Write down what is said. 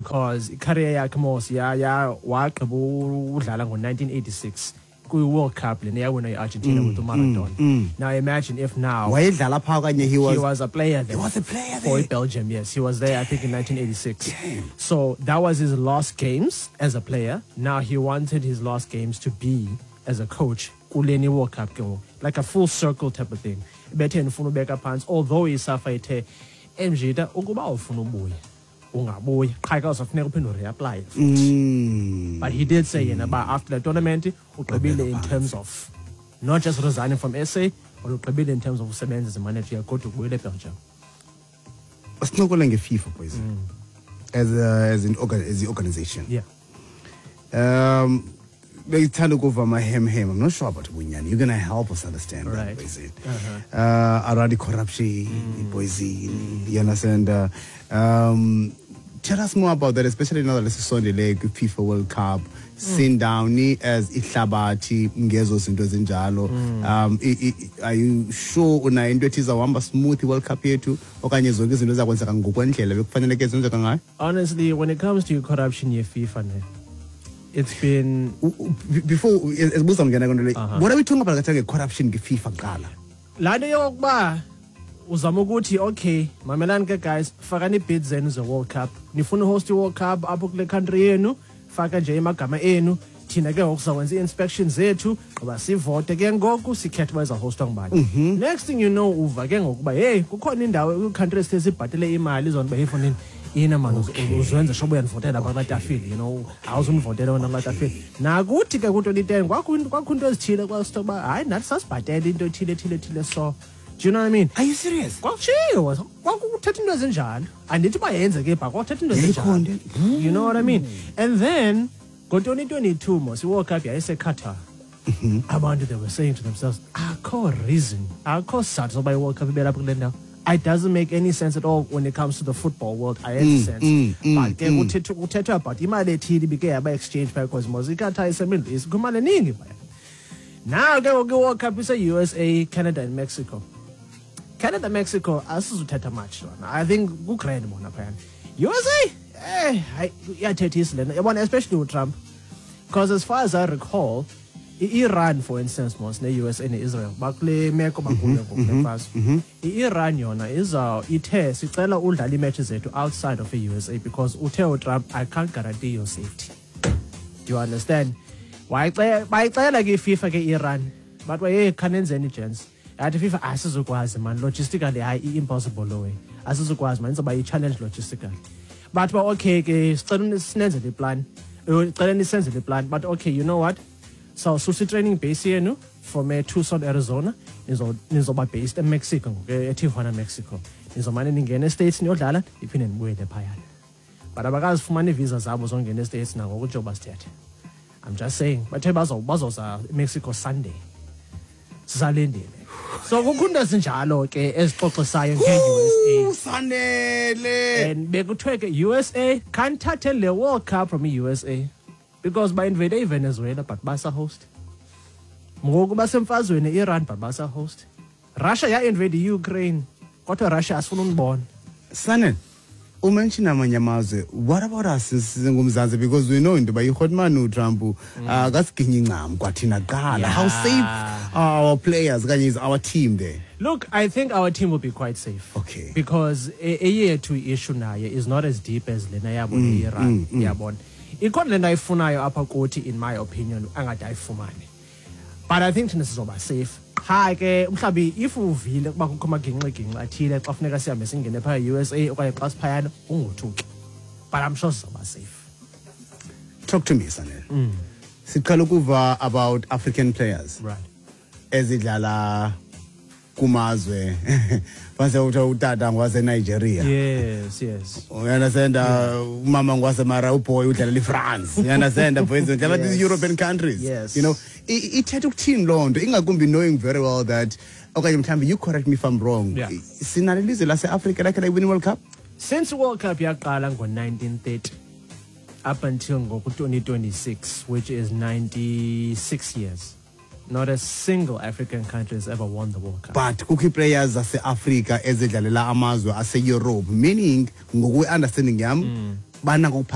Because career yakhe mos ya wagqiba udlala ngo-1986 kwi-World Cup lena yawina i-Argentina with uMaradona. Now imagine if now Wayedlala phaa okanye he was He was a player there. He was a player for there. Belgium, yes. He was there, I think, in 1986. So that was his last games as a player. Now he wanted his last games to be as a coach kuleni World Cup ke ngoku. Like a full circle type of thing. Bethe ndifuna ubeka phantsi, although iSAFA ithe, emjita, ukuba ufuna ubuya ungabuya, qha ke uzafuneka uphinde ureapply futhi. But he did say yena uba after the tournament ugqibile in terms of not just resigning from SA, but ugqibile in terms of usebenza as a manager, kodwa ubuyele eBelgium. Sincokole ngeFIFA, boys, as the organization. Bengithanda ukuva amahemhem. I'm not sure about ubunyani. You're gonna help us understand that, boys. Around the corruption, boys, you understand? Tell us more about that, especially now that sisondele kwi-FIFA World Cup. Sindawuni as ihlabathi ngezo zinto ezinjalo? Are you sure unayo into ethi izawuhamba smooth i-World Cup yethu, okanye zonke izinto ezakwenzeka ngokwendlela bekufaneleke zenzeka ngayo? Honestly, when it comes to corruption ye-FIFA ne, it's been Before esibuza ngena kwento le, what are we talking about kathe nge-corruption nge-FIFA kuqala? Laa nto yokokuba uzama ukuthi, okay, mamelani ke guys, fakani ii-bids zenu ze-World Cup, nifuna uhost i-World Cup apho kule country yenu, faka nje amagama enu, thina ke ngoku sizakwenza ii-inspection zethu, gqiba sivote ke ngoku, sikhethe uba izawuhostwa ngubani. Next thing you know, uva ke ngoku uba heyi, kukhona indawo kwii-country esithe sibhatele imali zona uba hey fondini ina mani, uzenze sure uba uyandivotela apha kulaa tafile, awuzundivotela wena kulaa tafile. Nakuthi ke ku-2010 kwakho into ezithile kwasithiwa uba hayi, nathi sasibhatele into ethile ethile ethile, so do you know what I mean? Are you serious? Kwakutshiwo, kwakuthetha into ezinjalo. Andithi uba yenzeke pha, kwakuthetha into Yayikhona ezinjalo. You know what I mean? And then ngo-2022 mos i-World Cup yayiseQatar. Abantu, they were saying to themselves, akho reason, akho sizathu soba i-World Cup ibe lapha kule ndawo. It doesn't make any sense at all when it comes to the football world. Ayenzi sense. But ke kuthethwa about imali ethile ibike yaba exchange phaya, because mos iQatar iseMiddle East, kukho imali eningi phaya. Now ke ngoku i-World Cup ise-USA, Canada and Mexico. Canada, Mexico asizuthetha much lona. I think ku-grand bona phayana. USA, hayi, iyathethisa lena. Yabona, especially uTrump. Because as far as I recall, i-Iran, for instance, mos ne-USA ne-Israel bakule meko bakuyo ngoku le mfazwe. I-Iran yona iza ithe sicela udlala ii-matches zethu outside of i-USA, because uthe uTrump, "I can't guarantee your safety." Do you understand? Bayicela ke iFIFA ke Iran. But hey, khanenzeni gents. Yathi FIFA, asizukwazi man, logistically hayi, i-impossible lo way. Asizukwazi man, izoba i-challenge logistically. But ba okay ke, sicela sinenzele iplan. Cela nisenzele iplan. But okay, you know what? So susa training base yenu from Tucson, Arizona, nizoba based eMexico ngoku, eTijuana, Mexico. Nizomane ningena eStates niyodlala, iphinde nibuyele phayana. But abakazifumana ii-visa zabo zongena eStates nangoku njengoba sithethe. I'm just saying, bathe bazoza eMexico Sunday. Sisalindile. So kukho into ezinjalo ke ezixoxisayo nge-USA. Sanele. And bekuthiwe ke USA khanithathe le World Cup from i-USA, because ba-invade iVenezuela but basa-host. Ngoku basemfazweni e-Iran but basa-host. Russia ya-invade i-Ukraine, kodwa Russia asifuna unibona. Sanele, umention amanye amazwe. What about us singumzantsi? Because we know into yoba ihotman uTrump akasiginyi incam kwathina kuqala. How safe are our players okanye is our team there? Look, I think our team will be quite safe. Because eyethu issue naye is not as deep as lena yabo ne-Iran. Yabona. Ikhona le nto ayifunayo apha kuthi, in my opinion, angade ayifumane. But I think thina sizoba safe. Qha ke mhlawumbi if uvile ukuba kukho amagingxigingxi athile xa funeka sihambe singene phaya e-USA okanye xa siphayana, ungothuki. But I'm sure sizoba safe. Talk to me, Sanele. Siqala ukuva about African players ezidlala kumazwe base uthe utata ngwase Nigeria. You understand? Umama ngwasemara, uboy udlalela iFrance. You understand? Boys udlala these European countries. Ithetha ukuthini loo nto, ingakumbi knowing very well that, okanye mhlawumbi you correct me if I'm wrong, sinalo ilizwe lase-Afrika lakhe layiwina i-World Cup? Since World Cup yaqala ngo-1930 up until ngoku-2026, which is 96 years, not a single African country has ever won the World Cup. But kukho ii-players zase-Afrika ezidlalela amazwe aseEurope, meaning ngokwe-understanding yam banako.